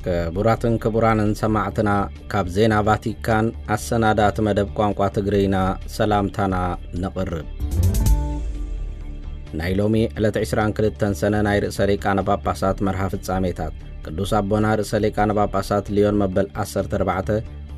ክቡራትን ክቡራንን ሰማዕትና፣ ካብ ዜና ቫቲካን ኣሰናዳእቲ መደብ ቋንቋ ትግርይና ሰላምታና ነቕርብ። ናይ ሎሚ ዕለት ዕስራን ክልተን ሰነ ናይ ርእሰ ሊቃነ ጳጳሳት መርሃ ፍጻሜታት። ቅዱስ ኣቦና ርእሰ ሊቃነ ጳጳሳት ሊዮን መበል ዓሰርተ ኣርባዕተ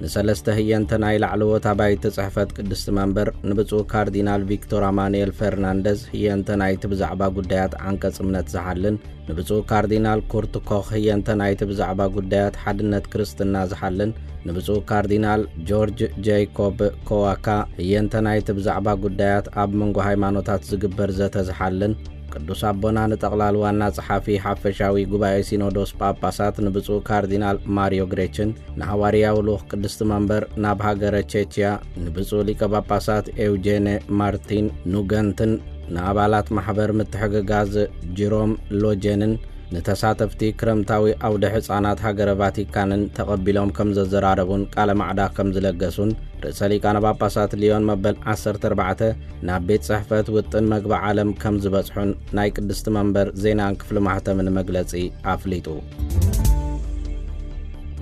ንሰለስተ ህየንተ ናይ ላዕለዎት ኣባይቲ ጽሕፈት ቅድስቲ መንበር ንብፁዕ ካርዲናል ቪክቶር ኣማኑኤል ፈርናንደዝ ህየንተ ናይቲ ብዛዕባ ጉዳያት ዓንቀጽ እምነት ዝሓልን ንብፁዕ ካርዲናል ኩርት ኮኽ ህየንተ ናይቲ ብዛዕባ ጉዳያት ሓድነት ክርስትና ዝሓልን ንብፁዕ ካርዲናል ጆርጅ ጀይኮብ ኮዋካ ህየንተ ናይቲ ብዛዕባ ጉዳያት ኣብ መንጎ ሃይማኖታት ዝግበር ዘተ ዝሓልን ቅዱስ ኣቦና ንጠቕላል ዋና ጸሓፊ ሓፈሻዊ ጉባኤ ሲኖዶስ ጳጳሳት ንብፁዕ ካርዲናል ማሪዮ ግሬችን ንሃዋርያዊ ልኡኽ ቅድስቲ መንበር ናብ ሃገረ ቼችያ ንብፁዕ ሊቀ ጳጳሳት ኤውጄነ ማርቲን ኑገንትን ንኣባላት ማሕበር ምትሕግጋዝ ጅሮም ሎጀንን ንተሳተፍቲ ክረምታዊ ኣውደ ሕጻናት ሃገረ ቫቲካንን ተቐቢሎም ከም ዘዘራረቡን ቃለ ማዕዳ ከም ዝለገሱን ርእሰ ሊቃነ ጳጳሳት ሊዮን መበል ዓሰርተ ኣርባዕተ ናብ ቤት ጽሕፈት ውጥን መግቢ ዓለም ከም ዝበጽሑን ናይ ቅድስቲ መንበር ዜናን ክፍሊ ማሕተምን መግለጺ ኣፍሊጡ።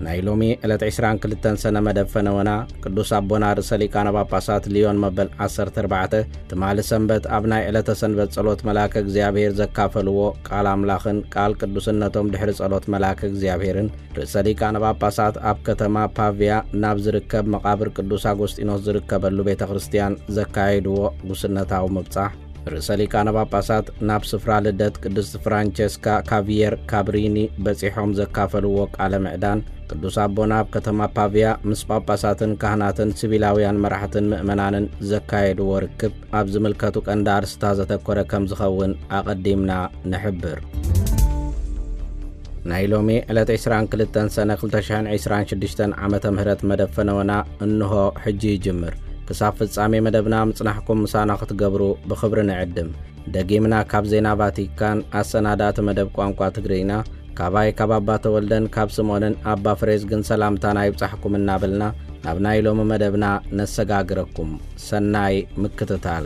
ናይ ሎሚ ዕለት ዕስራን ክልተን ሰነ መደብ ፈነወና ቅዱስ ኣቦና ርእሰ ሊቃነ ጳጳሳት ሊዮን መበል ዓሰርተ ኣርባዕተ ትማሊ ሰንበት ኣብ ናይ ዕለተ ሰንበት ጸሎት መልኣከ እግዚኣብሔር ዘካፈልዎ ቃል ኣምላኽን ቃል ቅዱስነቶም ድሕሪ ጸሎት መልኣከ እግዚኣብሔርን ርእሰ ሊቃነ ጳጳሳት ኣብ ከተማ ፓቪያ ናብ ዝርከብ መቓብር ቅዱስ ኣጎስጢኖስ ዝርከበሉ ቤተ ክርስቲያን ዘካየድዎ ጉስነታዊ ምብጻሕ፣ ርእሰ ሊቃነ ጳጳሳት ናብ ስፍራ ልደት ቅድስቲ ፍራንቸስካ ካቪየር ካብሪኒ በጺሖም ዘካፈልዎ ቃለ ምዕዳን፣ ቅዱስ ኣቦና ኣብ ከተማ ፓቪያ ምስ ጳጳሳትን ካህናትን ሲቪላውያን መራሕትን ምእመናንን ዘካየድዎ ርክብ ኣብ ዝምልከቱ ቀንዲ ኣርስታ ዘተኮረ ከም ዝኸውን ኣቐዲምና ንሕብር። ናይ ሎሚ ዕለት ዕስራን ክልተን ሰነ ክልተ ሽሕን ዕስራን ሽዱሽተን ዓመተ ምህረት መደብ ፈነወና እንሆ ሕጂ ይጅምር። ክሳብ ፍጻሜ መደብና ምጽናሕኩም ምሳና ክትገብሩ ብኽብሪ ንዕድም። ደጊምና ካብ ዜና ቫቲካን ኣሰናዳእቲ መደብ ቋንቋ ትግርይና ካባይ ካብ ኣባ ተወልደን ካብ ስምኦንን ኣባ ፍሬዝግን ሰላምታና ይብጻሕኩም እናበልና ናብ ናይ ሎሚ መደብና ነሰጋግረኩም። ሰናይ ምክትታል።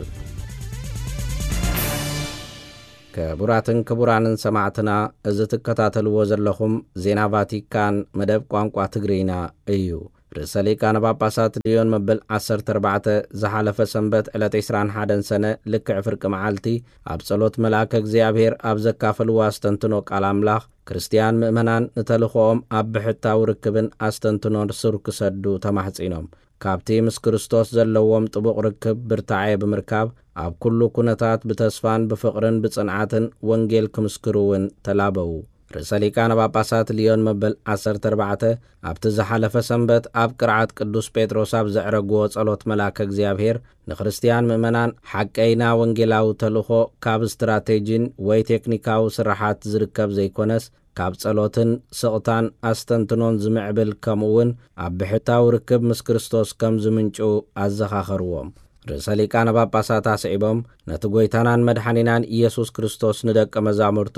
ክቡራትን ክቡራንን ሰማዕትና፣ እዚ ትከታተልዎ ዘለኹም ዜና ቫቲካን መደብ ቋንቋ ትግርይና እዩ። ርእሰ ሊቃነ ጳጳሳት ሊዮን መበል ዓሰርተ ኣርባዕተ ዝሓለፈ ሰንበት ዕለት ዕስራን ሓደን ሰነ ልክዕ ፍርቂ መዓልቲ ኣብ ጸሎት መልኣከ እግዚኣብሔር ኣብ ዘካፈልዎ ኣስተንትኖ ቃል ኣምላኽ፣ ክርስትያን ምእመናን ንተልእኾኦም ኣብ ብሕታዊ ርክብን ኣስተንትኖን ሱር ክሰዱ ተማሕጺኖም። ካብቲ ምስ ክርስቶስ ዘለዎም ጥቡቕ ርክብ ብርታዐ ብምርካብ፣ ኣብ ኩሉ ኩነታት ብተስፋን ብፍቕርን ብጽንዓትን ወንጌል ክምስክሩ እውን ተላበዉ። ርእሰ ሊቃነ ጳጳሳት ሊዮን መበል ዓሰርተ ኣርባዕተ ኣብቲ ዝሓለፈ ሰንበት ኣብ ቅርዓት ቅዱስ ጴጥሮስ ኣብ ዘዕረግዎ ጸሎት መልኣከ እግዚኣብሔር ንክርስትያን ምእመናን ሓቀይና ወንጌላዊ ተልእኾ ካብ ስትራቴጂን ወይ ቴክኒካዊ ስራሓት ዝርከብ ዘይኮነስ ካብ ጸሎትን ስቕታን ኣስተንትኖን ዝምዕብል ከምኡ እውን ኣብ ብሕታዊ ርክብ ምስ ክርስቶስ ከም ዝምንጩ ኣዘኻኸርዎም። ርእሰ ሊቃነ ጳጳሳት ኣስዒቦም ነቲ ጐይታናን መድሓኒናን ኢየሱስ ክርስቶስ ንደቀ መዛሙርቱ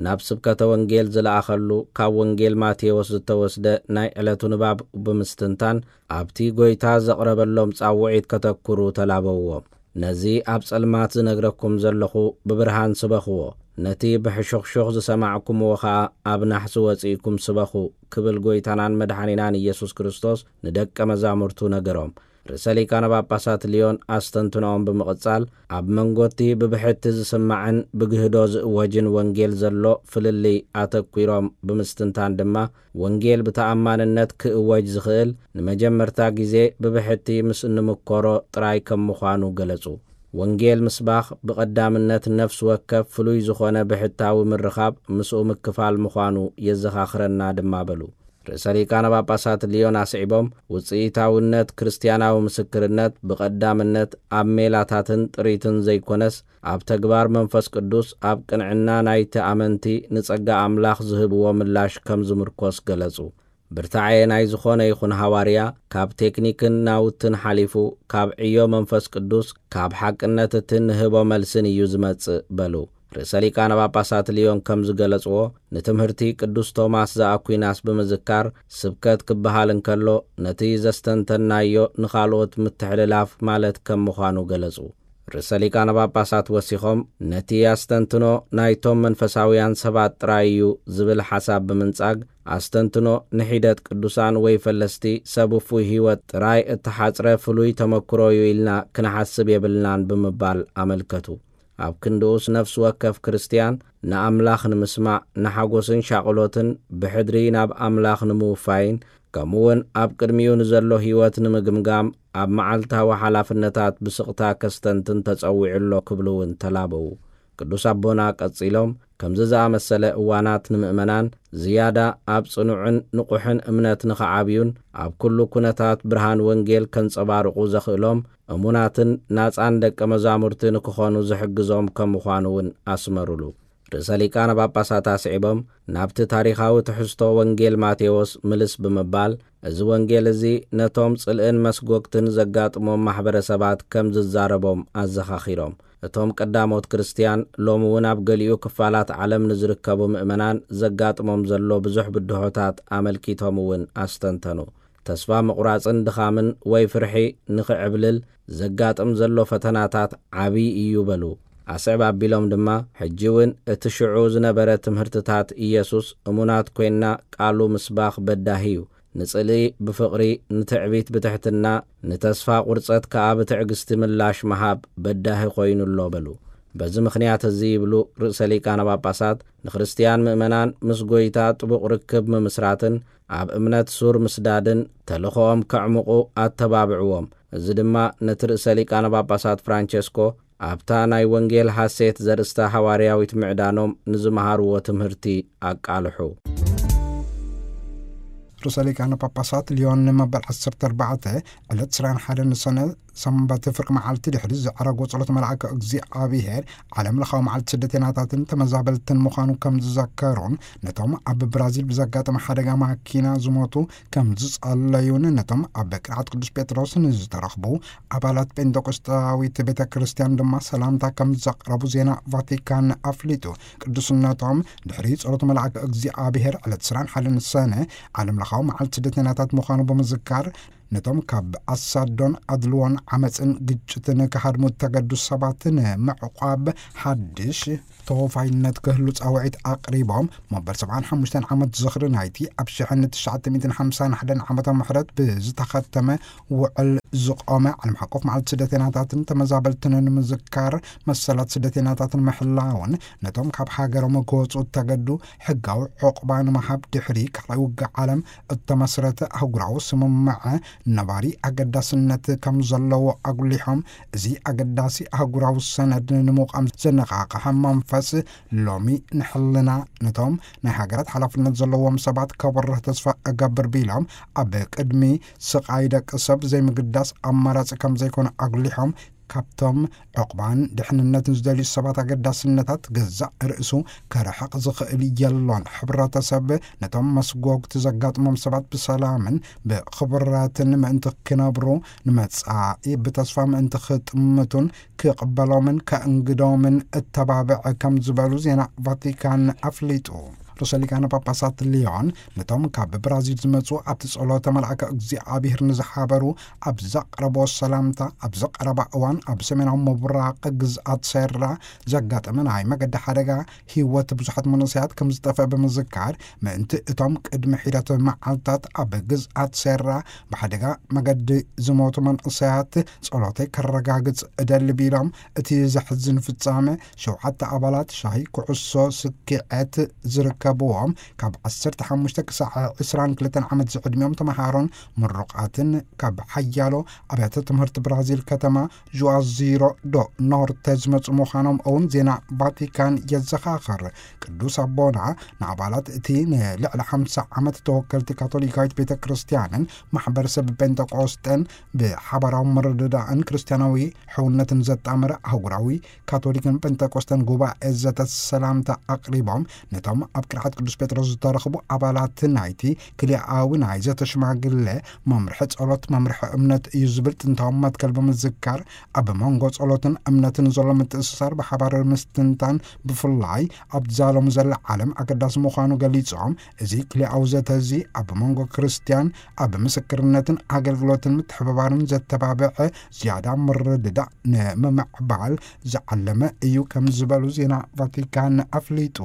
ናብ ስብከተ ወንጌል ዝለኣኸሉ ካብ ወንጌል ማቴዎስ ዝተወስደ ናይ ዕለቱ ንባብ ብምስትንታን ኣብቲ ጐይታ ዘቕረበሎም ጻውዒት ከተኩሩ ተላበውዎም። ነዚ ኣብ ጸልማት ዝነግረኩም ዘለኹ ብብርሃን ስበኽዎ፣ ነቲ ብሕሹኽሹኽ ዝሰማዕኩምዎ ኸኣ ኣብ ናሕሲ ወጺእኩም ስበኹ ክብል ጐይታናን መድሓኒናን ኢየሱስ ክርስቶስ ንደቀ መዛሙርቱ ነገሮም። ርእሰ ሊቃነ ጳጳሳት ሊዮን ኣስተንትኖኦም ብምቕጻል ኣብ መንጎቲ ብብሕቲ ዝስማዕን ብግህዶ ዝእወጅን ወንጌል ዘሎ ፍልልይ ኣተኲሮም ብምስትንታን ድማ ወንጌል ብተኣማንነት ክእወጅ ዝኽእል ንመጀመርታ ግዜ ብብሕቲ ምስ እንምኮሮ ጥራይ ከም ምዃኑ ገለጹ። ወንጌል ምስባኽ ብቐዳምነት ነፍሲ ወከፍ ፍሉይ ዝኾነ ብሕታዊ ምርኻብ ምስኡ ምክፋል ምዃኑ የዘኻኽረና ድማ በሉ። ርእሰ ሊቃነ ጳጳሳት ሊዮን ኣስዒቦም ውጽኢታውነት ክርስትያናዊ ምስክርነት ብቐዳምነት ኣብ ሜላታትን ጥሪትን ዘይኮነስ ኣብ ተግባር መንፈስ ቅዱስ ኣብ ቅንዕና ናይቲ ኣመንቲ ንጸጋ ኣምላኽ ዝህብዎ ምላሽ ከም ዝምርኮስ ገለጹ። ብርታዐ ናይ ዝኾነ ይኹን ሃዋርያ ካብ ቴክኒክን ናውትን ሓሊፉ ካብ ዕዮ መንፈስ ቅዱስ ካብ ሓቅነት እቲ ንህቦ መልስን እዩ ዝመጽእ በሉ። ርእሰ ሊቃነ ጳጳሳት ሊዮን ከም ዝገለጽዎ ንትምህርቲ ቅዱስ ቶማስ ዘኣኩናስ ብምዝካር ስብከት ክበሃል እንከሎ ነቲ ዘስተንተናዮ ንኻልኦት ምትሕልላፍ ማለት ከም ምዃኑ ገለጹ። ርእሰ ሊቃነ ጳጳሳት ወሲኾም፣ ነቲ ኣስተንትኖ ናይቶም መንፈሳውያን ሰባት ጥራይ እዩ ዝብል ሓሳብ ብምንጻግ፣ ኣስተንትኖ ንሒደት ቅዱሳን ወይ ፈለስቲ ሰብ ውፉይ ህይወት ጥራይ እተሓጽረ ፍሉይ ተመክሮ እዩ ኢልና ክንሓስብ የብልናን ብምባል ኣመልከቱ። ኣብ ክንድኡስ ነፍሲ ወከፍ ክርስትያን ንኣምላኽ ንምስማዕ፣ ንሓጎስን ሻቕሎትን ብሕድሪ ናብ ኣምላኽ ንምውፋይን፣ ከምኡውን ኣብ ቅድሚኡ ንዘሎ ህይወት ንምግምጋም ኣብ መዓልታዊ ሓላፍነታት ብስቕታ ከስተንትን ተጸዊዑ ኣሎ ክብሉ እውን ተላበዉ። ቅዱስ ኣቦና ቀጺሎም፣ ከምዚ ዝኣመሰለ እዋናት ንምእመናን ዝያዳ ኣብ ጽኑዕን ንቑሕን እምነት ንኽዓብዩን ኣብ ኩሉ ኩነታት ብርሃን ወንጌል ከንጸባርቑ ዘኽእሎም እሙናትን ናጻን ደቀ መዛሙርቲ ንክኾኑ ዝሕግዞም ከም ምዃኑ እውን ኣስመሩሉ። ርእሰ ሊቃነ ጳጳሳት ኣስዒቦም፣ ናብቲ ታሪኻዊ ትሕዝቶ ወንጌል ማቴዎስ ምልስ ብምባል፣ እዚ ወንጌል እዚ ነቶም ጽልእን መስጎግትን ዘጋጥሞም ማሕበረሰባት ከም ዝዛረቦም ኣዘኻኺሮም። እቶም ቀዳሞት ክርስትያን ሎሚ እውን ኣብ ገሊኡ ክፋላት ዓለም ንዝርከቡ ምእመናን ዘጋጥሞም ዘሎ ብዙሕ ብድሆታት ኣመልኪቶም እውን ኣስተንተኑ። ተስፋ ምቑራጽን ድኻምን ወይ ፍርሒ ንኽዕብልል ዘጋጥም ዘሎ ፈተናታት ዓብዪ እዩ በሉ። ኣስዕብ ኣቢሎም ድማ፣ ሕጂ እውን እቲ ሽዑ ዝነበረ ትምህርትታት ኢየሱስ እሙናት ኮይንና ቃሉ ምስባኽ በዳሂ እዩ። ንጽልኢ ብፍቕሪ፣ ንትዕቢት ብትሕትና፣ ንተስፋ ቁርጸት ከኣ ብትዕግስቲ ምላሽ ምሃብ በዳሂ ኮይኑ ኣሎ በሉ። በዚ ምኽንያት እዚ ይብሉ ርእሰ ሊቃነ ጳጳሳት፣ ንክርስትያን ምእመናን ምስ ጐይታ ጥቡቕ ርክብ ምምስራትን ኣብ እምነት ሱር ምስዳድን ተልእኾኦም ከዕምቑ ኣተባብዕዎም። እዚ ድማ ነቲ ርእሰ ሊቃነ ጳጳሳት ፍራንቸስኮ ኣብታ ናይ ወንጌል ሐሴት ዘርእስታ ሐዋርያዊት ምዕዳኖም ንዝመሃርዎ ትምህርቲ ኣቃልሑ። ርእሰ ሊቃነ ጳጳሳት ሊዮን መበል ዓሰርተ ኣርባዕተ ዕለት ዕስራን ሓደን ሰነ ሰንበት ፍርቂ መዓልቲ ድሕሪ ዘዕረጎ ጸሎት መልኣከ እግዚኣብሔር ዓለም ለኻዊ መዓልቲ ስደተኛታትን ተመዛበልትን ምዃኑ ከም ዝዘከሩን ነቶም ኣብ ብራዚል ብዘጋጠመ ሓደጋ ማኪና ዝሞቱ ከም ዝጸለዩን ነቶም ኣብ ቅርዓት ቅዱስ ጴጥሮስ ንዝተረኽቡ ኣባላት ጴንጠቆስጣዊት ቤተ ክርስቲያን ድማ ሰላምታ ከም ዘቕረቡ ዜና ቫቲካን ኣፍሊጡ። ቅዱስነቶም ድሕሪ ጸሎት መልኣከ እግዚኣብሔር ዕለት ዕስራን ሓደን ሰነ ዓለም ለኻዊ መዓልቲ ስደተኛታት ምዃኑ ብምዝካር ነቶም ካብ ኣሳዶን ኣድልዎን ዓመፅን ግጭትን ክሃድሙ እተገዱ ሰባት ንምዕቋብ ሓድሽ ተወፋይነት ክህሉ ጻውዒት ኣቕሪቦም፣ መበል ሰብዓን ሓሙሽተን ዓመት ዝኽሪ ናይቲ ኣብ ሽሕን ትሽዓተ ሚእትን ሓምሳን ሓደን ዓመተ ምሕረት ብዝተኸተመ ውዕል ዝቖመ ዓለም ሓቆፍ መዓልቲ ስደተኛታትን ተመዛበልትን ንምዝካር፣ መሰላት ስደተኛታትን ምሕላውን ነቶም ካብ ሃገሮም ክወፁ እተገዱ ሕጋዊ ዕቑባ ንምሃብ ድሕሪ ካልኣይ ውግእ ዓለም እተመስረተ ኣህጉራዊ ስምምዐ ነባሪ ኣገዳስነት ከም ዘለዎ ኣጉሊሖም፣ እዚ ኣገዳሲ ኣህጉራዊ ሰነድ ንምቋም ዘነቓቕሐ መንፈስ ሎሚ ንሕልና ነቶም ናይ ሃገራት ሓላፍነት ዘለዎም ሰባት ከበርህ ተስፋ እገብር ቢሎም፣ ኣብ ቅድሚ ስቓይ ደቂ ሰብ ዘይምግዳስ ኣማራጺ ከም ዘይኮነ ኣጉሊሖም፣ ካብቶም ዕቑባን ድሕንነትን ዝደልዩ ሰባት ኣገዳስነታት ገዛእ ርእሱ ከርሕቕ ዝኽእል የሎን። ሕብረተሰብ ነቶም መስጎግቲ ዘጋጥሞም ሰባት ብሰላምን ብኽብረትን ምእንቲ ክነብሩ፣ ንመጻኢ ብተስፋ ምእንቲ ክጥምቱን ክቕበሎምን ከእንግዶምን እተባብዕ ከም ዝበሉ ዜና ቫቲካን ኣፍሊጡ። ርእሰ ሊቃነ ጳጳሳት ሊዮን ነቶም ካብ ብራዚል ዝመጹ ኣብቲ ጸሎተ መልኣከ እግዚኣብሔር ንዝሓበሩ ኣብ ዘቕረቦ ሰላምታ፣ ኣብዚ ቀረባ እዋን ኣብ ሰሜናዊ ምብራቕ ግዝኣት ሴራ ዘጋጠመ ናይ መገዲ ሓደጋ ህይወት ብዙሓት መንእሰያት ከም ዝጠፍአ ብምዝካር፣ ምእንቲ እቶም ቅድሚ ሒደት መዓልታት ኣብ ግዝኣት ሴራ ብሓደጋ መገዲ ዝሞቱ መንእሰያት ጸሎተይ ከረጋግጽ እደሊ ቢሎም፣ እቲ ዘሕዝን ፍጻመ ሸውዓተ ኣባላት ሻሂ ኩዕሶ ስኪዔት ዝርከብዎም ካብ ዓሰርተ ሓሙሽተ ክሳዕ ዕስራን ክልተን ዓመት ዝዕድሚኦም ተመሃሮን ምሩቓትን ካብ ሓያሎ ኣብያተ ትምህርቲ ብራዚል ከተማ ጁዋዚሮ ዶ ኖርተ ዝመጹ ምዃኖም እውን ዜና ቫቲካን የዘኻኽር። ቅዱስ ኣቦና ንኣባላት እቲ ንልዕሊ ሓምሳ ዓመት ተወከልቲ ካቶሊካዊት ቤተ ክርስቲያንን ማሕበረሰብ ጴንጠቆስጠን ብሓባራዊ ምርድዳእን ክርስቲያናዊ ሕውነትን ዘጣመረ ኣህጉራዊ ካቶሊክን ጴንጠቆስጠን ጉባኤ ዘተ ሰላምታ ኣቕሪቦም፣ ነቶም ኣብ ቅርዓት ቅዱስ ጴጥሮስ ዝተረኽቡ ኣባላት ናይቲ ክልኣዊ ናይ ዘተ ሽማግለ መምርሒ ጸሎት መምርሒ እምነት እዩ ዝብል ጥንታዊ መትከል ብምዝካር፣ ኣብ መንጎ ጸሎትን እምነትን ዘሎ ምትእስሳር ብሓባር ምስትንታን፣ ብፍላይ ኣብ ዛሎም ዘለ ዓለም ኣገዳሲ ምዃኑ ገሊጾም፣ እዚ ክልኣዊ ዘተ እዚ ኣብ መንጎ ክርስትያን ኣብ ምስክርነትን ኣገልግሎትን ምትሕብባርን ዘተባብዐ ዝያዳ ምርድዳእ ንምምዕባል ዝዓለመ እዩ ከም ዝበሉ ዜና ቫቲካን ኣፍሊጡ።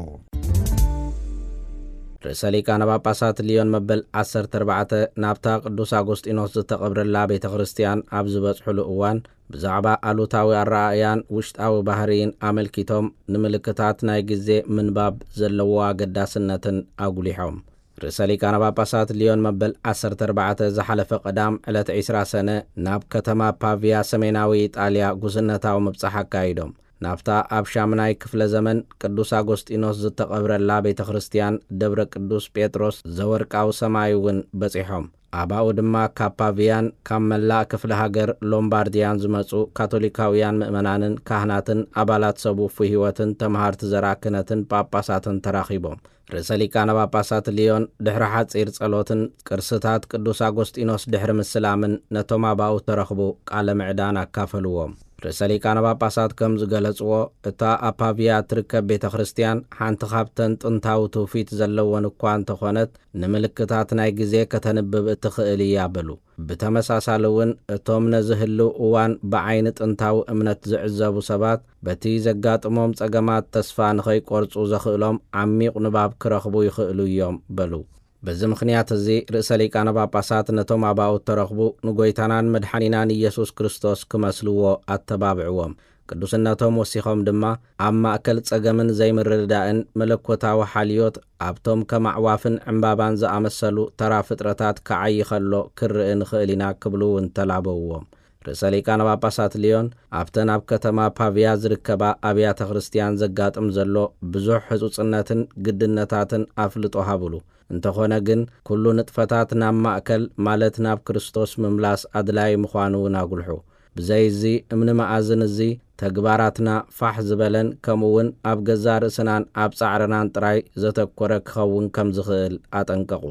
ርእሰ ሊቃነ ጳጳሳት ሊዮን መበል ዓሰርተ ኣርባዕተ ናብታ ቅዱስ ኣጎስጢኖስ ዝተቐብረላ ቤተ ክርስቲያን ኣብ ዝበጽሕሉ እዋን፣ ብዛዕባ ኣሉታዊ ኣረኣእያን ውሽጣዊ ባህርይን ኣመልኪቶም፣ ንምልክታት ናይ ግዜ ምንባብ ዘለዎ ኣገዳስነትን ኣጉሊሖም። ርእሰ ሊቃነ ጳጳሳት ሊዮን መበል ዓሰርተ ኣርባዕተ ዝሓለፈ ቀዳም ዕለት ዕስራ ሰነ ናብ ከተማ ፓቪያ ሰሜናዊ ኢጣልያ ጉስነታዊ ምብጻሕ ኣካይዶም። ናብታ ኣብ ሻምናይ ክፍለ ዘመን ቅዱስ ኣጎስጢኖስ ዝተቐብረላ ቤተ ክርስቲያን ደብረ ቅዱስ ጴጥሮስ ዘወርቃዊ ሰማይ እውን በጺሖም። ኣባኡ ድማ ካብ ፓቪያን ካብ መላእ ክፍለ ሃገር ሎምባርድያን ዝመጹ ካቶሊካውያን ምእመናንን ካህናትን ኣባላት ሰብ ውፉይ ህይወትን ተመሃርቲ ዘርኣ ክህነትን ጳጳሳትን ተራኺቦም። ርእሰ ሊቃነ ጳጳሳት ሊዮን ድሕሪ ሓጺር ጸሎትን ቅርስታት ቅዱስ ኣጎስጢኖስ ድሕሪ ምስላምን ነቶም ኣባኡ ተረኽቡ ቃለ ምዕዳን ኣካፈልዎም። ርእሰ ሊቃነ ጳጳሳት ከም ዝገለጽዎ፣ እታ ኣብ ፓቪያ እትርከብ ቤተ ክርስቲያን ሓንቲ ካብተን ጥንታዊ ትውፊት ዘለወን እኳ እንተኾነት፣ ንምልክታት ናይ ግዜ ከተንብብ እትኽእል እያ በሉ። ብተመሳሳሊ እውን፣ እቶም ነዚ ህልው እዋን ብዓይኒ ጥንታዊ እምነት ዝዕዘቡ ሰባት፣ በቲ ዘጋጥሞም ጸገማት ተስፋ ንኸይቆርጹ ዘኽእሎም ዓሚቕ ንባብ ክረኽቡ ይኽእሉ እዮም በሉ። በዚ ምኽንያት እዚ፣ ርእሰ ሊቃነ ጳጳሳት ነቶም ኣባኡ እተረኽቡ ንጎይታናን መድሓኒናን ኢየሱስ ክርስቶስ ክመስልዎ ኣተባብዕዎም። ቅዱስነቶም ወሲኾም ድማ፣ ኣብ ማእከል ጸገምን ዘይምርድዳእን መለኮታዊ ሓልዮት ኣብቶም ከም ኣዕዋፍን ዕምባባን ዝኣመሰሉ ተራ ፍጥረታት ክዓዪ ኸሎ ክንርኢ ንኽእል ኢና ክብሉ እውን ተላበውዎም። ርእሰ ሊቃነ ጳጳሳት ሊዮን ኣብተን ኣብ ከተማ ፓቪያ ዝርከባ ኣብያተ ክርስቲያን ዘጋጥም ዘሎ ብዙሕ ህጹጽነትን ግድነታትን ኣፍልጦ ሃብሉ። እንተኾነ ግን፣ ኩሉ ንጥፈታት ናብ ማእከል፣ ማለት ናብ ክርስቶስ ምምላስ ኣድላዪ ምዃኑ እውን ኣጉልሑ። ብዘይ እዚ እምኒ መኣዝን እዚ፣ ተግባራትና ፋሕ ዝበለን ከምኡ እውን ኣብ ገዛእ ርእስናን ኣብ ጻዕርናን ጥራይ ዘተኮረ ክኸውን ከም ዝኽእል ኣጠንቀቑ።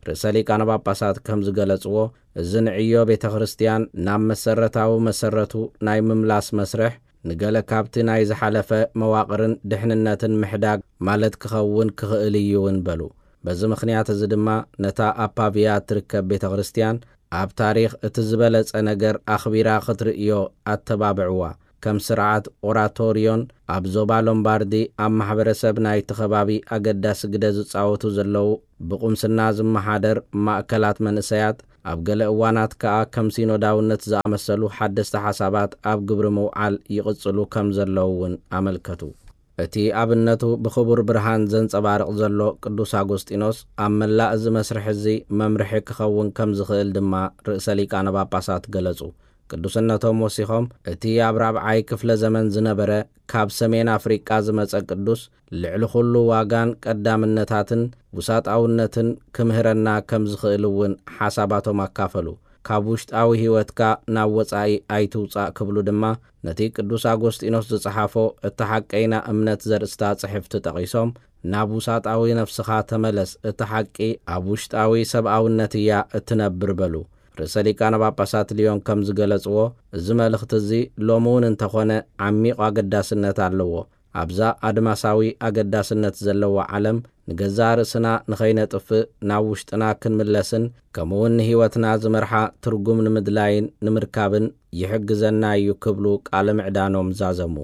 ርእሰ ሊቃነ ጳጳሳት ከም ዝገለጽዎ፣ እዚ ንዕዮ ቤተ ክርስቲያን ናብ መሰረታዊ መሰረቱ ናይ ምምላስ መስርሕ፣ ንገለ ካብቲ ናይ ዝሓለፈ መዋቕርን ድሕንነትን ምሕዳግ ማለት ክኸውን ክኽእል እዩ እውን በሉ። በዚ ምኽንያት እዚ ድማ፣ ነታ ኣብ ፓቪያ እትርከብ ቤተ ክርስቲያን ኣብ ታሪኽ እቲ ዝበለጸ ነገር ኣኽቢራ ክትርእዮ ኣተባብዕዋ። ከም ስርዓት ኦራቶርዮን ኣብ ዞባ ሎምባርዲ ኣብ ማሕበረሰብ ናይቲ ከባቢ ኣገዳሲ ግደ ዝጻወቱ ዘለዉ ብቁምስና ዝመሓደር ማእከላት መንእሰያት፣ ኣብ ገለ እዋናት ከኣ ከም ሲኖዳውነት ዝኣመሰሉ ሓደስቲ ሓሳባት ኣብ ግብሪ ምውዓል ይቕጽሉ ከም ዘለዉ እውን ኣመልከቱ። እቲ ኣብነቱ ብኽቡር ብርሃን ዘንጸባርቕ ዘሎ ቅዱስ ኣጎስጢኖስ፣ ኣብ መላእ እዚ መስርሕ እዚ መምርሒ ክኸውን ከም ዝኽእል ድማ ርእሰ ሊቃነ ጳጳሳት ገለጹ። ቅዱስነቶም ወሲኾም፣ እቲ ኣብ ራብዓይ ክፍለ ዘመን ዝነበረ ካብ ሰሜን ኣፍሪቃ ዝመጸ ቅዱስ፣ ልዕሊ ኹሉ ዋጋን ቀዳምነታትን ውሳጣውነትን ክምህረና ከም ዝኽእል እውን ሓሳባቶም ኣካፈሉ። ካብ ውሽጣዊ ህይወትካ ናብ ወጻኢ ኣይትውጻእ ክብሉ ድማ፣ ነቲ ቅዱስ ኣጎስጢኖስ ዝጸሓፎ እታ ሓቀይና እምነት ዘርእስታ ጽሕፍቲ ጠቒሶም፣ ናብ ውሳጣዊ ነፍስኻ ተመለስ፣ እታ ሓቂ ኣብ ውሽጣዊ ሰብኣውነት እያ እትነብር በሉ። ርእሰ ሊቃነ ጳጳሳት ሊዮን ከም ዝገለጽዎ፣ እዚ መልእኽቲ እዚ ሎሚ እውን እንተኾነ ዓሚቕ ኣገዳስነት ኣለዎ። ኣብዛ ኣድማሳዊ ኣገዳስነት ዘለዋ ዓለም፣ ንገዛእ ርእስና ንኸይነጥፍእ ናብ ውሽጥና ክንምለስን፣ ከምኡውን ንህይወትና ዝመርሓ ትርጉም ንምድላይን ንምርካብን ይሕግዘና እዩ ክብሉ ቃለ ምዕዳኖም ዛዘሙ።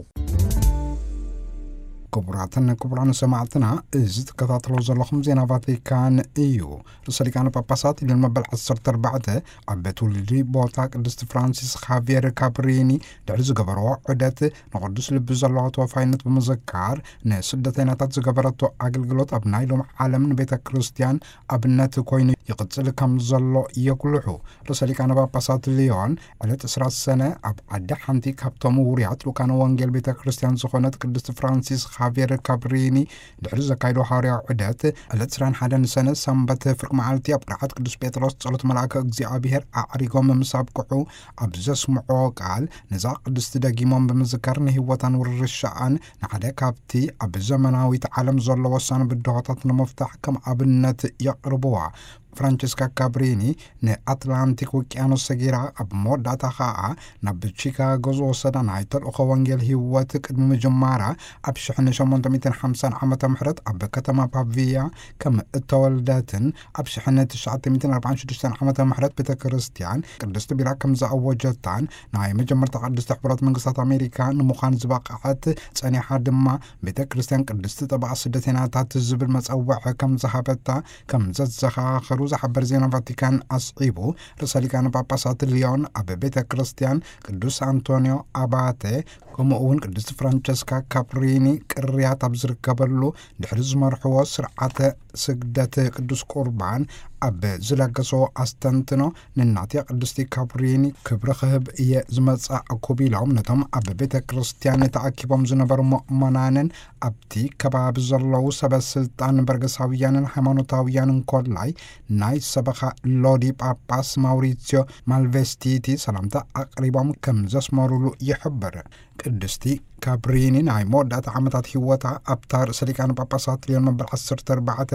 ክቡራትን ክቡራን ሰማዕትና፣ እዚ ትከታተሎ ዘለኹም ዜና ቫቲካን እዩ። ርእሰ ሊቃነ ጳጳሳት ሊዮን መበል ዓሰርተ ኣርባዕተ ኣብ ቤት ውልዲ ቦታ ቅድስቲ ፍራንሲስ፣ ኻቪየር ካብሪኒ ድሕሪ ዝገበርዎ ዑደት፣ ንቕዱስ ልቢ ዘለዋ ተወፋይነት ብምዝካር፣ ንስደተኛታት ዝገበረቶ ኣገልግሎት ኣብ ናይ ሎም ዓለም ንቤተ ክርስቲያን ኣብነት ኮይኑ ይቕጽል ከም ዘሎ የጉልሑ። ርእሰ ሊቃነ ጳጳሳት ሊዮን ዕለት ዕስራ ሰነ ኣብ ዓዲ ሓንቲ ካብቶም ውሩያት ልኡካነ ወንጌል ቤተ ክርስቲያን ዝኾነት ቅድስቲ ፍራንሲስ ጃቪየር ካብሪኒ ድሕሪ ዘካይዶ ሃዋርያዊ ዑደት፣ ዕለት ዕስራን ሓደን ሰነ ሰንበት ፍርቂ መዓልቲ ኣብ ቅርዓት ቅዱስ ጴጥሮስ ጸሎት መልኣከ እግዚኣብሔር ኣዕሪጎም ምስ ኣብቅዑ፣ ኣብ ዘስምዖ ቃል፣ ነዛ ቅድስቲ ደጊሞም ብምዝካር ንህይወታን ውርሻኣን ንሓደ ካብቲ ኣብ ዘመናዊት ዓለም ዘሎ ወሳኒ ብድሆታት ንምፍታሕ ከም ኣብነት የቕርብዋ። ፍራንቸስካ ካብሪኒ ንኣትላንቲክ ውቅያኖስ ሰጊራ፣ ኣብ መወዳእታ ኸኣ ናብ ቺካጎ ዝወሰዳ ናይ ተልእኾ ወንጌል ህይወት ቅድሚ ምጅማራ፣ ኣብ ሽሕን ሸሞንተ ሚእትን ሓምሳን ዓመተ ምሕረት ኣብ ከተማ ፓቪያ ከም እተወልደትን ኣብ ሽሕን ትሽዓተ ሚእትን ኣርባዓን ሽዱሽተን ዓመተ ምሕረት ቤተ ክርስቲያን ቅድስቲ ቢራ ከም ዝኣወጀታን፣ ናይ መጀመርታ ቅድስቲ ሕቡራት መንግስታት ኣሜሪካ ንምዃን ዝበቕዐት፣ ጸኒሓ ድማ ቤተ ክርስቲያን ቅድስቲ ጠበቓ ስደተኛታት ዝብል መጸውዒ ከም ዝሃበታ ከም ዘዘኻኸሩ ዝሓበር ዜና ቫቲካን ኣስዒቡ፣ ርእሰ ሊቃነ ጳጳሳት ሊዮን ኣብ ቤተ ክርስቲያን ቅዱስ ኣንቶኒዮ ኣባተ፣ ከምኡ እውን ቅድስቲ ፍራንቸስካ ካብሪኒ ቅርያት ኣብ ዝርከበሉ ድሕሪ ዝመርሕዎ ስርዓተ ስግደት ቅዱስ ቁርባን ኣብ ዝለገሶ ኣስተንትኖ፣ ንናትያ ቅድስቲ ካብሪኒ ክብሪ ክህብ እየ ዝመጻእኩ ቢሎም፣ ነቶም ኣብ ቤተ ክርስቲያን ተኣኪቦም ዝነበሩ ምእመናንን ኣብቲ ከባቢ ዘለዉ ሰበ ስልጣን በርገሳውያንን ሃይማኖታውያንን ኮላይ ናይ ሰበኻ ሎዲ ጳጳስ ማውሪሲዮ ማልቬስቲቲ ሰላምታ ኣቕሪቦም ከም ዘስመሩሉ ይሕብር። ቅድስቲ ካብሪኒ ናይ መወዳእታ ዓመታት ህይወታ ኣብታ ርእሰ ሊቃነ ጳጳሳት ሊዮን መበል ዓሰርተ ኣርባዕተ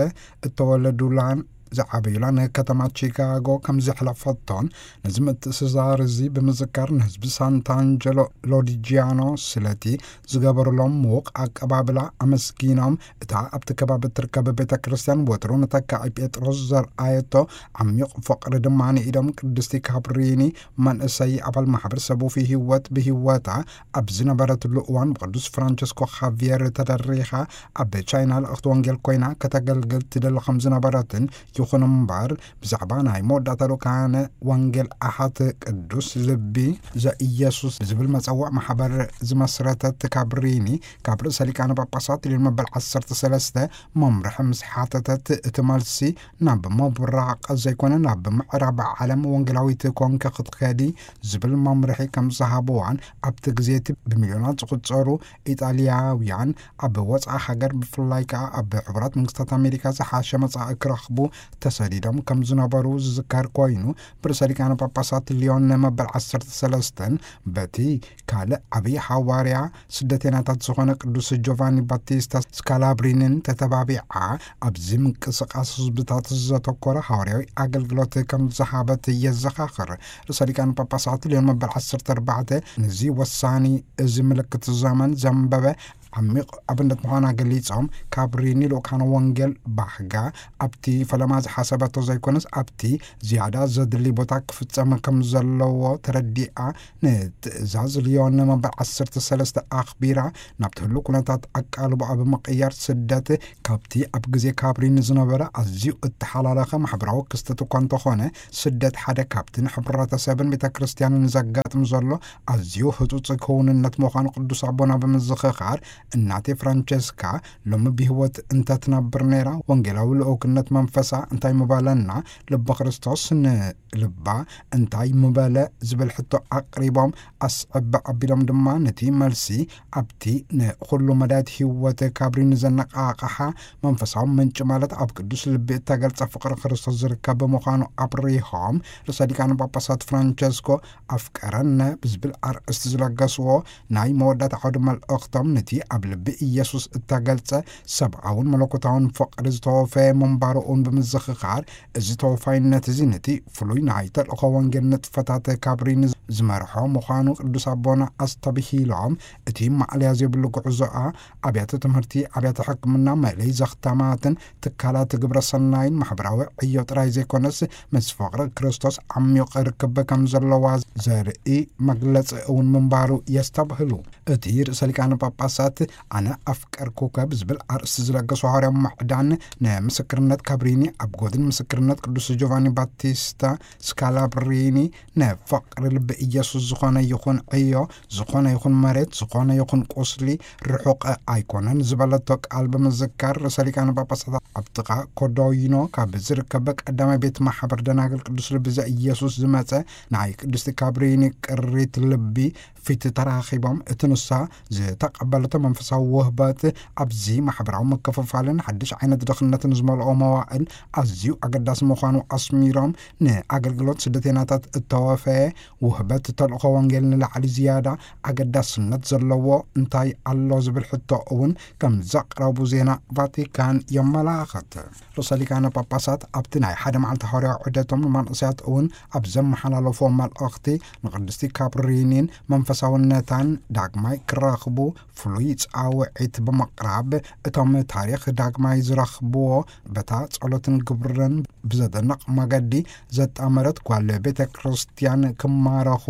እተወለዱላን ዝዓበዩላን ከተማ ቺካጎ ከም ዘሕለፈቶን፣ ነዚ ምትእስሳር እዚ ብምዝካር ንህዝቢ ሳንታ ኣንጀሎ ሎዲጂያኖ ስለቲ ዝገበሩሎም ምዉቕ ኣቀባብላ ኣመስጊኖም፣ እታ ኣብቲ ከባቢ እትርከብ ቤተ ክርስቲያን ወትሩ ንተካኢ ጴጥሮስ ዘርኣየቶ ዓሚቕ ፍቕሪ ድማ ንኢዶም። ቅድስቲ ካብሪኒ መንእሰይ ኣባል ማሕበረሰብ ውፉይ ህይወት ብህይወታ ኣብ ዝነበረትሉ እዋን ብቅዱስ ፍራንቸስኮ ኻቪየር ተደሪኻ ኣብ ቻይና ልእኽቲ ወንጌል ኮይና ከተገልግል ትደሊ ከም ዝነበረትን፣ ይኹን እምበር ብዛዕባ ናይ መወዳእታ ልኡካነ ወንጌል ኣሓት ቅዱስ ልቢ ዘኢየሱስ ዝብል መጸውዕ ማሕበር ዝመስረተት ካብሪኒ፣ ካብ ርእሰ ሊቃነ ጳጳሳት ሊዮን መበል ዓሰርተ ሰለስተ መምርሒ ምስ ሓተተት፣ እቲ መልሲ ናብ ምብራቕ ዘይኮነ ናብ ምዕራብ ዓለም ወንጌላዊት ኮንኪ ክትከዲ ዝብል መምርሒ ከም ዝሃብዋን፣ ኣብቲ ግዜ እቲ ብሚልዮናት ዝቑጸሩ ኢጣልያውያን ኣብ ወጻኢ ሃገር፣ ብፍላይ ከኣ ኣብ ሕቡራት መንግስታት ኣሜሪካ ዝሓሸ መጻኢ ክረኽቡ ተሰዲዶም ከም ዝነበሩ ዝዝከር ኮይኑ፣ ብርእሰ ሊቃነ ጳጳሳት ሊዮን መበል ዓሰርተ ሰለስተን በቲ ካልእ ዓብዪ ሃዋርያ ስደተኛታት ዝኾነ ቅዱስ ጆቫኒ ባቲስታ ስካላብሪንን ተተባቢዓ፣ ኣብዚ ምንቅስቃስ ህዝብታት ዘተኮረ ሃዋርያዊ ኣገልግሎት ከም ዝሃበት የዘኻኽር። ርእሰ ሊቃነ ጳጳሳት ሊዮን መበል ዓሰርተ ኣርባዕተ፣ ነዚ ወሳኒ፣ እዚ ምልክት ዘመን ዘንበበ ዓሚቕ ኣብነት ምዃና ገሊጾም፣ ካብሪኒ ልኡካነ ወንጌል ባህጋ ኣብቲ ፈለማ ዝሓሰበቶ ዘይኮነስ፣ ኣብቲ ዝያዳ ዘድሊ ቦታ ክፍጸም ከም ዘለዎ ተረዲኣ፣ ንትእዛዝ ልዮን መበል ዓሰርተ ሰለስተ ኣኽቢራ፣ ናብቲ ህሉው ኩነታት ኣቃልቦኣ ብምቕያር፣ ስደት ካብቲ ኣብ ግዜ ካብሪኒ ዝነበረ ኣዝዩ እተሓላለኸ ማሕበራዊ ክስተት እኳ እንተኾነ፣ ስደት ሓደ ካብቲ ንሕብረተሰብን ቤተ ክርስቲያንን ዘጋጥም ዘሎ ኣዝዩ ህጹጽ ክውንነት ምዃኑ ቅዱስ ኣቦና ብምዝኽኻር፣ እናቴ ፍራንቸስካ ሎሚ ብህይወት እንተትነብር ነይራ፣ ወንጌላዊ ልኡክነት መንፈሳ እንታይ ምበለና? ልበ ክርስቶስ ንልባ እንታይ ምበለ? ዝብል ሕቶ ኣቕሪቦም፣ ኣስዕብ ኣቢሎም ድማ ነቲ መልሲ ኣብቲ ንኹሉ መዳየት ህይወት ካብሪኒ ዘነቓቕሓ መንፈሳዊ ምንጪ፣ ማለት ኣብ ቅዱስ ልቢ እተገልጸ ፍቕሪ ክርስቶስ ዝርከብ ብምዃኑ ኣብሪሆም፣ ርእሰ ሊቃነ ጳጳሳት ፍራንቸስኮ ኣፍቀረነ ብዝብል ኣርእስቲ ዝለገስዎ ናይ መወዳእታ ዓውዲ መልእኽቶም፣ ነቲ ኣብ ልቢ ኢየሱስ እተገልጸ ሰብኣውን መለኮታውን ፍቕሪ ዝተወፈየ ምንባሩ እውን ብምዝኽኻር፣ እዚ ተወፋይነት እዚ ነቲ ፍሉይ ናይ ተልእኾ ወንጌል ንጥፈታት ካብሪኒ ዝመርሖ ምዃኑ ቅዱስ ኣቦና ኣስተብሂሎም፣ እቲ ማእለያ ዘይብሉ ጉዕዞኣ ኣብያተ ትምህርቲ፣ ኣብያተ ሕክምና፣ መእለይ ዘኽታማትን ትካላት ግብረ ሰናይን ማሕበራዊ ዕዮ ጥራይ ዘይኮነስ፣ ምስ ፍቕሪ ክርስቶስ ዓሚቕ ርክብ ከም ዘለዋ ዘርኢ መግለጺ እውን ምንባሩ የስተብህሉ። እቲ ርእሰ ሊቃነ ጳጳሳት፣ "ኣነ ኣፍቀርኩከ" ብዝብል ኣርእስቲ ዝለገሶ ሃዋርያዊ ምዕዳን፣ ንምስክርነት ካብሪኒ ኣብ ጎድን ምስክርነት ቅዱስ ጆቫኒ ባቲስታ ስካላብሪኒ፣ ንፍቕሪ ልቢ ኢየሱስ ዝኾነ ይኹን ዕዮ፣ ዝኾነ ይኹን መሬት፣ ዝኾነ ይኹን ቁስሊ ርሑቕ ኣይኮነን ዝበለቶ ቃል ብምዝካር፣ ርእሰ ሊቃነ ጳጳሳት ኣብ ጥቓ ኮዶይኖ ካብ ዝርከብ ቀዳማይ ቤት ማሕበር ደናግል ቅዱስ ልቢ ዘኢየሱስ ዝመጸ ናይ ቅድስቲ ካብሪኒ ቅሪት ልቢ ፊት ተራኺቦም፣ እቲ ንሳ ዝተቐበለቶ መንፈሳዊ ውህበት ኣብዚ ማሕበራዊ ምክፍፋልን ሓድሽ ዓይነት ድኽነትን ዝመልኦ መዋእል ኣዝዩ ኣገዳሲ ምዃኑ ኣስሚሮም፣ ንኣገልግሎት ስደተይናታት እተወፈየ ውህበት ተልእኾ ወንጌል ንላዕሊ ዝያዳ ኣገዳስነት ዘለዎ እንታይ ኣሎ ዝብል ሕቶ እውን ከም ዘቕረቡ ዜና ቫቲካን የመላኽት። ርእሰ ሊቃነ ጳጳሳት ኣብቲ ናይ ሓደ መዓልቲ ሃዋርያዊ ዑደቶም ንመንእሰያት እውን ኣብ ዘመሓላለፎ መልእኽቲ፣ ንቅድስቲ ካብሪኒን መንፈሳውነታን ዳግማይ ክራኽቡ ፍሉይ ጻውዒት ብምቕራብ፣ እቶም ታሪኽ ዳግማይ ዝረኽብዎ በታ ጸሎትን ግብርን ብዘደንቕ መገዲ ዘጣመረት ጓል ቤተ ክርስቲያን ክማረኹ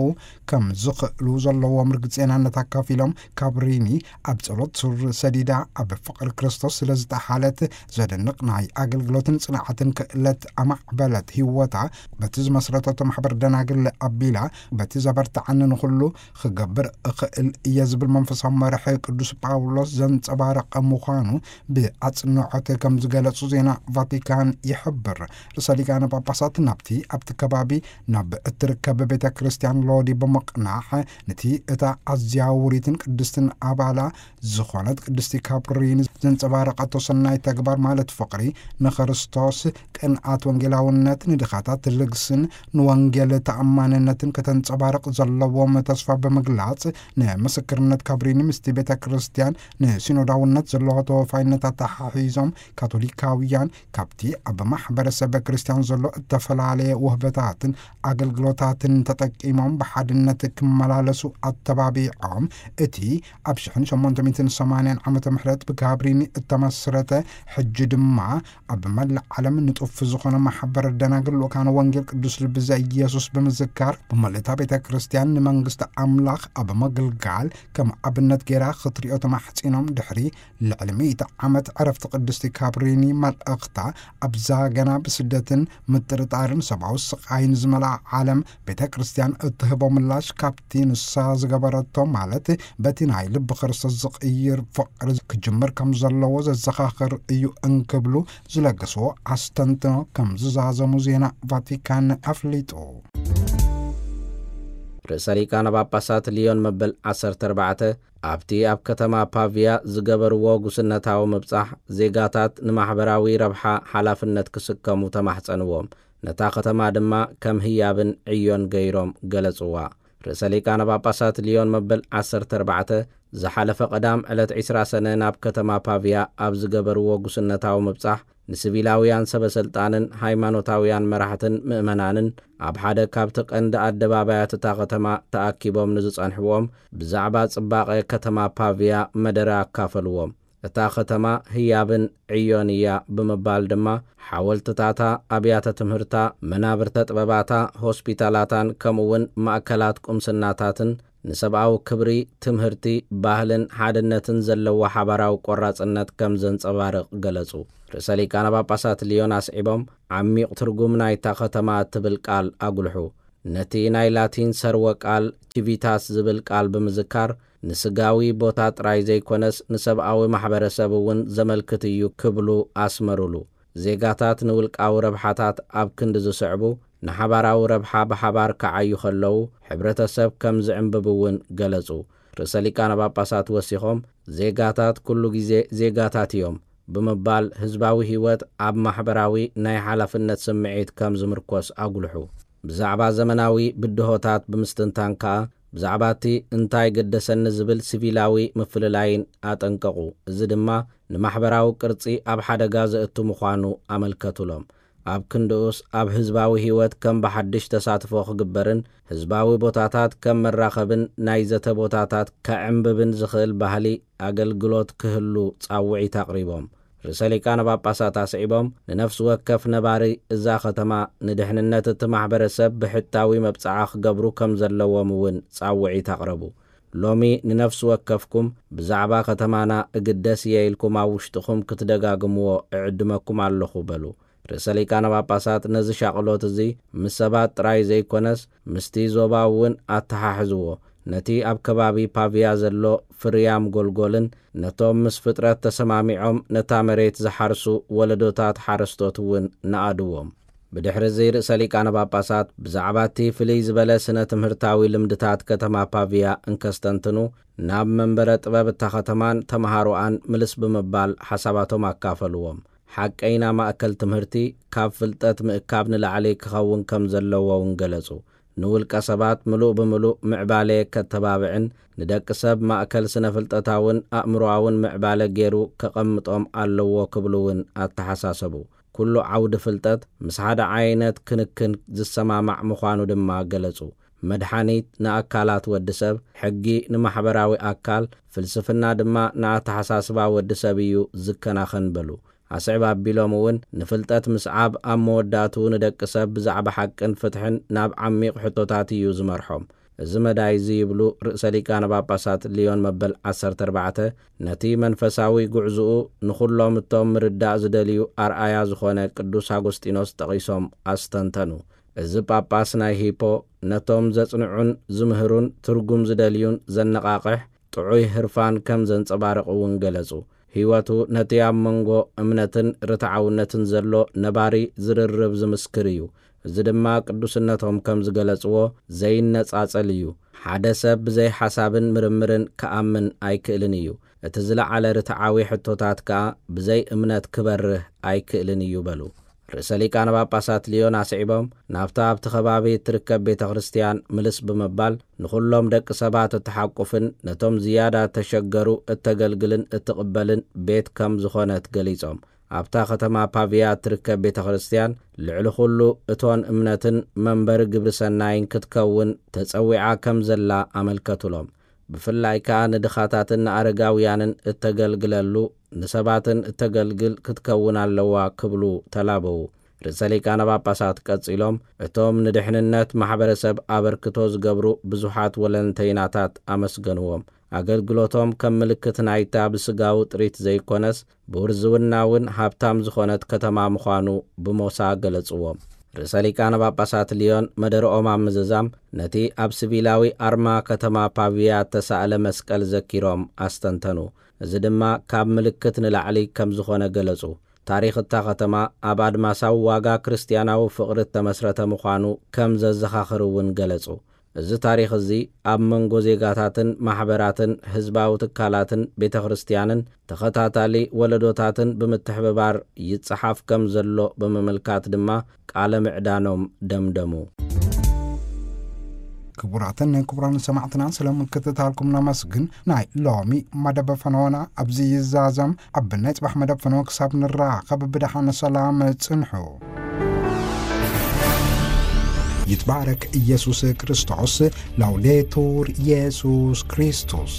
ከም ዝኽእሉ ዘለዎም ርግጽናነት ኣካፊሎም፣ ካብሪኒ ኣብ ጸሎት ሱር ሰዲዳ ኣብ ፍቕሪ ክርስቶስ ስለ ዝተሓለት ዘደንቕ ናይ ኣገልግሎትን ጽንዓትን ክእለት ኣማዕበለት። ህይወታ በቲ ዝመስረተቶ ማሕበር ደናግል ኣቢላ፣ በቲ ዘበርትዓኒ ንኹሉ ክገብር እኽእል እየ ዝብል መንፈሳዊ መርሒ ቅዱስ ጳውሎስ ዘንጸባረቐ ምዃኑ ብኣጽንዖት ከም ዝገለጹ ዜና ቫቲካን ይሕብር። ርእሰ ሊቃነ ጳጳሳት ናብቲ ኣብቲ ከባቢ ናብ እትርከብ ቤተ ክርስቲያን ሎዲ ብምቕናሕ፣ ነቲ እታ ኣዝያ ውሪትን ቅድስትን ኣባላ ዝኾነት ቅድስቲ ካብሪን ዘንጸባረቐቶ ሰናይ ተግባር፣ ማለት ፍቕሪ ንክርስቶስ፣ ቅንኣት ወንጌላውነት፣ ንድኻታት ልግስን ንወንጌል ተኣማንነትን ከተንጸባርቕ ዘለዎም ተስፋ ብምግላጽ፣ ንምስክርነት ካብሪኒ ምስቲ ቤተ ክርስቲያን ንሲኖዳውነት ዘለዎ ተወፋይነት ኣተሓሒዞም፣ ካቶሊካውያን ካብቲ ኣብ ማሕበረሰብ ክርስቲያን ዘሎ እተፈላለየ ውህበታትን ኣገልግሎታትን ተጠቂሞም ብሓድነት ክመላለሱ ኣተባቢዖም፣ እቲ ኣብ ሽሕን ሸሞንተ ሚእትን ሰማንያን ዓመተ ምህረት ብካብሪኒ እተመስረተ፣ ሕጂ ድማ ኣብ መላእ ዓለም ንጡፍ ዝኾነ ማሕበር ደናግል ልኡካነ ወንጌል ቅዱስ ልቢ ዘኢየሱስ ብምዝካር፣ ብመልእታ ቤተ ክርስቲያን ንመንግስቲ ኣምላኽ ኣብ ምግልጋል ከም ኣብነት ገይራ ክትሪኦ ተማሕጺኖም፣ ድሕሪ ልዕሊ ሚእቲ ዓመት ዕረፍቲ ቅድስቲ ካብሪኒ፣ መልእኽታ ኣብዛ ገና ብስደትን ምጥርጣርን ሰብኣዊ ስቓይን ዝመልኣ ዓለም ቤተ ክርስቲያን እትህቦ ምላሽ፣ ካብቲ ንሳ ዝገበረቶ፣ ማለት በቲ ናይ ልቢ ክርስቶስ ዝቕይር ፍቕሪ ክጅምር ከም ዘለዎ ዘዘኻኽር እዩ እንክብሉ ዝለገስዎ ኣስተንትኖ ከም ዝዛዘሙ ዜና ቫቲካን ኣፍሊጡ። ርእሰ ሊቃነ ጳጳሳት ሊዮን መበል ዓሰርተ ኣርባዕተ ኣብቲ ኣብ ከተማ ፓቪያ ዝገበርዎ ጉስነታዊ ምብጻሕ፣ ዜጋታት ንማሕበራዊ ረብሓ ሓላፍነት ክስከሙ ተማሕጸንዎም። ነታ ከተማ ድማ ከም ህያብን ዕዮን ገይሮም ገለጽዋ። ርእሰ ሊቃነ ጳጳሳት ሊዮን መበል ዓሰርተ ኣርባዕተ ዝሓለፈ ቀዳም ዕለት ዕስራ ሰነ ናብ ከተማ ፓቪያ ኣብ ዝገበርዎ ጉስነታዊ ምብጻሕ፣ ንሲቪላውያን ሰበ ስልጣንን ሃይማኖታውያን መራሕትን ምእመናንን ኣብ ሓደ ካብቲ ቀንዲ ኣደባባያት እታ ከተማ ተኣኪቦም ንዝጸንሕዎም ብዛዕባ ጽባቐ ከተማ ፓቪያ መደረ ኣካፈልዎም። እታ ከተማ ህያብን ዕዮን እያ ብምባል ድማ፣ ሓወልትታታ፣ ኣብያተ ትምህርታ፣ መናብርተ ጥበባታ፣ ሆስፒታላታን ከምኡ እውን ማእከላት ቁምስናታትን ንሰብኣዊ ክብሪ፣ ትምህርቲ፣ ባህልን ሓድነትን ዘለዎ ሓባራዊ ቆራጽነት ከም ዘንጸባርቕ ገለጹ። ርእሰ ሊቃነ ጳጳሳት ሊዮን ኣስዒቦም፣ ዓሚቕ ትርጉም ናይታ ከተማ እትብል ቃል ኣጉልሑ። ነቲ ናይ ላቲን ሰርወ ቃል ቺቪታስ ዝብል ቃል ብምዝካር፣ ንስጋዊ ቦታ ጥራይ ዘይኮነስ ንሰብኣዊ ማሕበረሰብ እውን ዘመልክት እዩ ክብሉ ኣስመሩሉ። ዜጋታት ንውልቃዊ ረብሓታት ኣብ ክንዲ ዝስዕቡ፣ ንሓባራዊ ረብሓ ብሓባር ክዓዩ ከለዉ፣ ሕብረተሰብ ከም ዝዕምብብ እውን ገለጹ። ርእሰ ሊቃነ ጳጳሳት ወሲኾም፣ ዜጋታት ኩሉ ግዜ ዜጋታት እዮም ብምባል፣ ህዝባዊ ህይወት ኣብ ማሕበራዊ ናይ ሓላፍነት ስምዒት ከም ዝምርኮስ ኣጉልሑ። ብዛዕባ ዘመናዊ ብድሆታት ብምስትንታን ከኣ፣ ብዛዕባ እቲ እንታይ ገደሰኒ ዝብል ሲቪላዊ ምፍልላይን ኣጠንቀቑ። እዚ ድማ ንማሕበራዊ ቅርጺ ኣብ ሓደጋ ዘእቱ ምዃኑ ኣመልከቱሎም። ኣብ ክንድኡስ፣ ኣብ ህዝባዊ ህይወት ከም ብሓድሽ ተሳትፎ ክግበርን ህዝባዊ ቦታታት ከም መራኸብን ናይ ዘተ ቦታታት ከዕምብብን ዝኽእል ባህሊ ኣገልግሎት ክህሉ ጻውዒት ኣቕሪቦም። ርእሰ ሊቃነ ጳጳሳት ኣስዒቦም፣ ንነፍሲ ወከፍ ነባሪ እዛ ከተማ ንድሕንነት እቲ ማሕበረሰብ ብሕታዊ መብጽዓ ክገብሩ ከም ዘለዎም እውን ጻውዒት ኣቕረቡ። ሎሚ ንነፍሲ ወከፍኩም ብዛዕባ ከተማና እግደስ እየ ኢልኩም ኣብ ውሽጥኹም ክትደጋግምዎ እዕድመኩም ኣለኹ በሉ። ርእሰ ሊቃነ ጳጳሳት ነዚ ሻቕሎት እዚ ምስ ሰባት ጥራይ ዘይኮነስ ምስቲ ዞባ እውን ኣተሓሕዝዎ። ነቲ ኣብ ከባቢ ፓቪያ ዘሎ ፍርያም ጎልጎልን ነቶም ምስ ፍጥረት ተሰማሚዖም ነታ መሬት ዝሓርሱ ወለዶታት ሓረስቶት እውን ነኣድዎም። ብድሕሪ እዚ ርእሰ ሊቃነ ጳጳሳት ብዛዕባ እቲ ፍልይ ዝበለ ስነ ትምህርታዊ ልምድታት ከተማ ፓቪያ እንከስተንትኑ፣ ናብ መንበረ ጥበብ እታ ከተማን ተምሃሮኣን ምልስ ብምባል ሓሳባቶም ኣካፈልዎም። ሓቀይና ማእከል ትምህርቲ ካብ ፍልጠት ምእካብ ንላዕሊ ክኸውን ከም ዘለዎ እውን ገለጹ። ንውልቀ ሰባት ምሉእ ብምሉእ ምዕባለ ከተባብዕን ንደቂ ሰብ ማእከል ስነ ፍልጠታውን ኣእምሮኣውን ምዕባለ ገይሩ ከቐምጦም ኣለዎ ክብሉ እውን ኣተሓሳሰቡ። ኩሉ ዓውዲ ፍልጠት ምስ ሓደ ዓይነት ክንክን ዝሰማማዕ ምዃኑ ድማ ገለጹ። መድሓኒት ንኣካላት ወዲ ሰብ፣ ሕጊ ንማሕበራዊ ኣካል፣ ፍልስፍና ድማ ንኣተሓሳስባ ወዲ ሰብ እዩ ዝከናኸን በሉ። ኣስዕብ ኣቢሎም እውን ንፍልጠት ምስዓብ ኣብ መወዳእትኡ ንደቂ ሰብ ብዛዕባ ሓቅን ፍትሕን ናብ ዓሚቕ ሕቶታት እዩ ዝመርሖም። እዚ መዳይ እዚ ይብሉ ርእሰ ሊቃነ ጳጳሳት ሊዮን መበል ዓሰርተ ኣርባዕተ ነቲ መንፈሳዊ ጉዕዝኡ ንኹሎም እቶም ምርዳእ ዝደልዩ ኣርኣያ ዝኾነ ቅዱስ ኣጎስጢኖስ ጠቒሶም ኣስተንተኑ። እዚ ጳጳስ ናይ ሂፖ ነቶም ዘጽንዑን ዝምህሩን ትርጉም ዝደልዩን ዘነቓቕሕ ጥዑይ ህርፋን ከም ዘንጸባርቕ እውን ገለጹ። ህይወቱ ነቲ ኣብ መንጎ እምነትን ርትዓውነትን ዘሎ ነባሪ ዝርርብ ዝምስክር እዩ። እዚ ድማ ቅዱስነቶም ከም ዝገለጽዎ ዘይነጻጸል እዩ። ሓደ ሰብ ብዘይ ሓሳብን ምርምርን ክኣምን ኣይክእልን እዩ። እቲ ዝለዓለ ርትዓዊ ሕቶታት ከኣ ብዘይ እምነት ክበርህ ኣይክእልን እዩ በሉ። ርእሰ ሊቃነ ጳጳሳት ሊዮን ኣስዒቦም፣ ናብታ ኣብቲ ከባቢ እትርከብ ቤተ ክርስቲያን ምልስ ብምባል ንኹሎም ደቂ ሰባት እትሓቁፍን ነቶም ዝያዳ እተሸገሩ እተገልግልን እትቕበልን ቤት ከም ዝኾነት ገሊጾም፣ ኣብታ ከተማ ፓቪያ እትርከብ ቤተ ክርስቲያን ልዕሊ ኩሉ እቶን እምነትን መንበሪ ግብሪ ሰናይን ክትከውን ተጸዊዓ ከም ዘላ ኣመልከቱሎም። ብፍላይ ከኣ ንድኻታትን ንኣረጋውያንን እተገልግለሉ ንሰባትን እተገልግል ክትከውን ኣለዋ ክብሉ ተላበዉ። ርእሰ ሊቃነ ጳጳሳት ቀጺሎም እቶም ንድሕንነት ማሕበረሰብ ኣበርክቶ ዝገብሩ ብዙሓት ወለንተይናታት ኣመስገንዎም። ኣገልግሎቶም ከም ምልክት ናይታ ብስጋዊ ጥሪት ዘይኮነስ ብውርዝውና እውን ሃብታም ዝኾነት ከተማ ምዃኑ ብሞሳ ገለጽዎም። ርእሰ ሊቃነ ጳጳሳት ሊዮን መደረኦም ኣብ ምዝዛም ነቲ ኣብ ሲቪላዊ ኣርማ ከተማ ፓቪያ እተሳእለ መስቀል ዘኪሮም ኣስተንተኑ። እዚ ድማ ካብ ምልክት ንላዕሊ ከም ዝኾነ ገለጹ። ታሪኽ እታ ከተማ ኣብ ኣድማሳዊ ዋጋ ክርስትያናዊ ፍቕሪ እተመስረተ ምዃኑ ከም ዘዘኻኽር እውን ገለጹ። እዚ ታሪኽ እዚ ኣብ መንጎ ዜጋታትን ማሕበራትን ህዝባዊ ትካላትን ቤተ ክርስቲያንን ተኸታታሊ ወለዶታትን ብምትሕብባር ይጸሓፍ ከም ዘሎ ብምምልካት ድማ ቃለ ምዕዳኖም ደምደሙ። ክቡራትን ክቡራን ሰማዕትና፣ ስለ ምክትታልኩም ነመስግን። ናይ ሎሚ መደብ ፈነወና ኣብዚ ይዛዘም። ኣብ ናይ ጽባሕ መደብ ፈነወ ክሳብ ንራኸብ ብደሓን ሰላም ጽንሑ። ይትባረክ ኢየሱስ ክርስቶስ። ላውዴቱር ኢየሱስ ክርስቶስ።